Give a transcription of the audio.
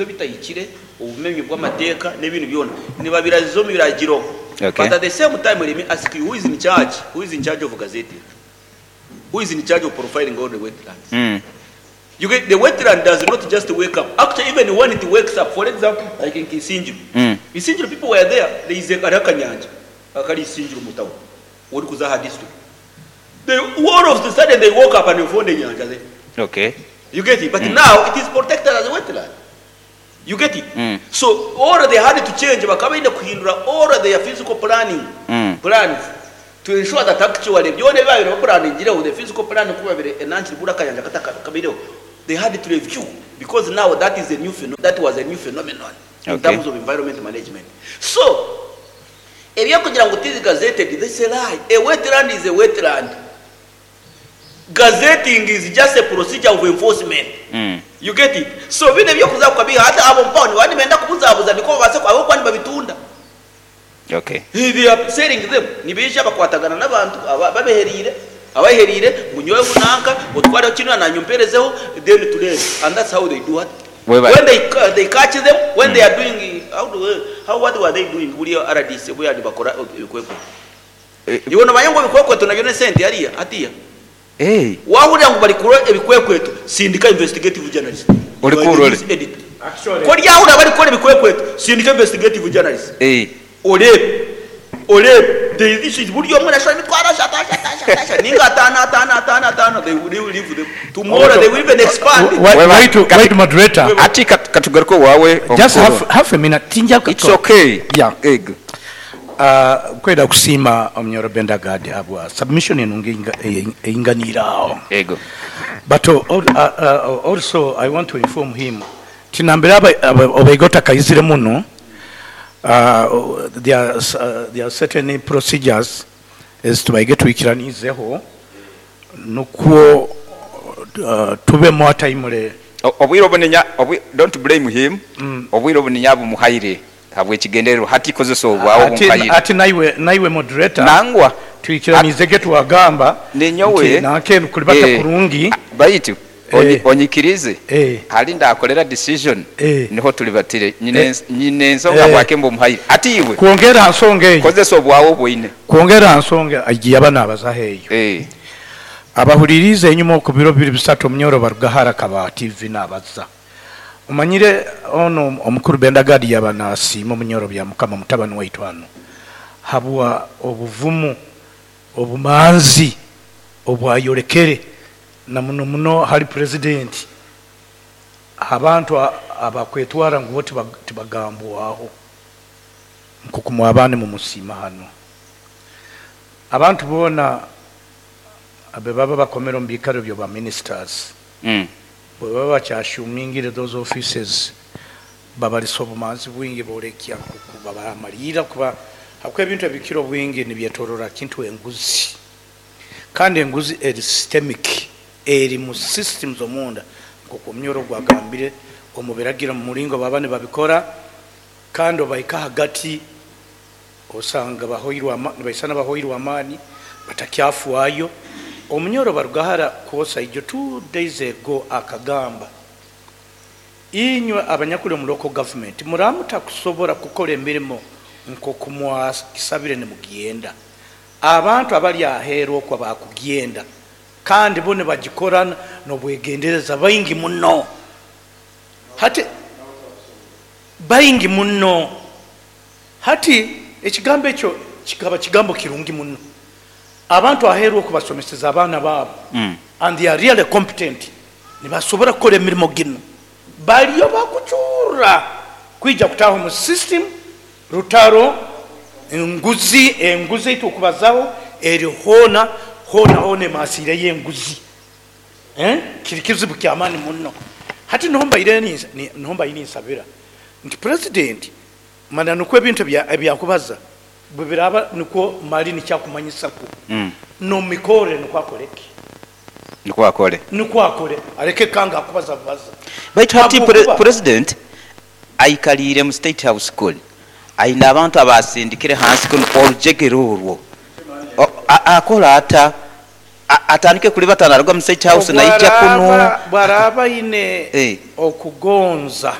Ebitahikire, obumenyi bw'amateeka n'ebindi byona nibabiraziza omu biragiro. Okay. But at the same time let me ask you, who is in charge, who is in charge of gazetting? Who is in charge of profiling all the wetlands? You get, the wetland does not just wake up. Actually, even when it wakes up, for example, like in Isingiro, Isingiro people were there, there is a hariho akanyanja akari Isingiro mu town, orikuza aha district. They, all of the sudden they woke up and they found enyanja there. You get it? But now it is protected as a wetland. You get it? So all they had to change, bakaba baine kuhindura all their physical planning plans to ensure that actually byona ebi babaire bapulaningire the physical plan ku babaire enanki buri akayanja katakabaireho, they had to review because now that is a new pheno that was a new phenomenon in terms of environment management. So ebyokugira ngu tizi gazetted, that's a lie. A wetland is a wetland. Gazetting is just a procedure of enforcement. You get it? So binu ebyokuza kukabiha hati abo mpaho nibaba nibenda kubuzabuza nikwo babaase ahabw'okuba nibabitunda. They are selling them. Nibaija bakwatagana n'abantu aba ababeheriire abaheriire ngu nyowe nanka otwareho kinu nanye omperezeho then tureebe and that's how they do what? Webale. When they catch them when they are doing how do how what were they doing buriya RDC obu yaaba nibakora ebikwekweto. Iwe nomanya ngu ebikwekweto nabyo n'esente hariya hatiya? Wahurira ngu barikukora ebikwekweto sindika investigative journalist. Ori You are the kurore. news editor. Ku oryahurira barikukora ebikwekweto sindika investigative journalist. Oreebe oreebe there is this buri omwe nashora emitwaro ashatu ashatu ashatu ashatu ninga ataano ataano ataano ataano they will leave them tomorrow they will even expand. Wait, wait, moderator. Hati katugaruke owaawe Just omukuru. half a minute. Tinja It's okay. Yeah. Ego. Kwenda kusiima Omunyoro Bendagadi habwa submission enungi einganiire aho. Ego. But also I want to inform him tinambere obaige otakaizire muno, there are certain procedures ezitubaige twikiraniizeho nukwo tube more timely. Obwire obu ninya, don't blame him, obwire obu ninya bumuhaire habw'ekigendererwa hati kozesa obwawe obumuhaire. Ati naiwe moderator, Nangwa. twikiraniizege twagamba Ninyowe, nti nanka kulibata kurungi. Baitu onyikirize, hali ndakolera decision niho tulibatire nyine ensonga bwake mbumuhaire ati iwe Kwongera ha nsonga eyo. Kozesa obwawe obwoine. Kwongera ha nsonga egi yaba nabazaho eyo. Abahuririize enyuma oku biro bibiri bisatu Omunyoro Barugahara akaba aha TV nabaza. Omanyire ono omukuru Bendagadi yaba nasiima Omunyoro Byamukama mutabani waitu hanu habwa obuvumu, obumanzi obwayolekere na muno muno hali president abantu abakwetwara ngu bo tibagambwaho nkoku mwabane mumusiima hanu. Abantu boona abe baba bakomere omu biikaro byo ba ministers, bwe baba bakyashumingire those offices babalisa obumanzi bwingi borekya nkoku babamalira kuba hakuba ebintu ebikira obwingi nibyetorora kintu enguzi, kandi enguzi eri systemic, eri mu systems omunda nkoku Omunyoro gwagambire omu biragiro mu muringo baba nibabikora, kandi obaika hagati osanga bahoirwe nibaisana bahoirwe amaani batakyafuayo. Omunyoro Barugahara kwosa ijo 2 days ago akagamba inywe abanyakuli omu local government muramuta kusobora kukora emirimo nkoku mwakisabire nimugenda, abantu abali aheeru okwo bakugenda kandi bo nibagikora n'obwegendereza baingi muno, hati baingi muno. Hati ekigambo ekyo kikaba kigambo kirungi muno, abantu aheeru okubasomeseza abaana baabo and they are really competent, nibasobora kukora emirimo gino, baliyo bakucurra kwija kutaha omu system rutaro enguzi, enguzi eitukubazaho eri hoona hoona hoona emasiire y'enguzi. Kiri kizibu kyamaani muno. Hati niho mbaire niho mbaire ninsabira nti president mana nukwo ebintu ebyakubaza bwe biraba nukwo mali nikyakumanyisaku nomikore nukwo akoreki, Nukwo akore, nukwo akore, areke kanga akubaza bubaza. Baitu hati Habwokuba president aikaliire mu State House kuli aine abantu abasindikire hansi kuno orujegere orwo akola ata atandike kulibata naruga mu State House naija kuno. Bwaraba aine okugonza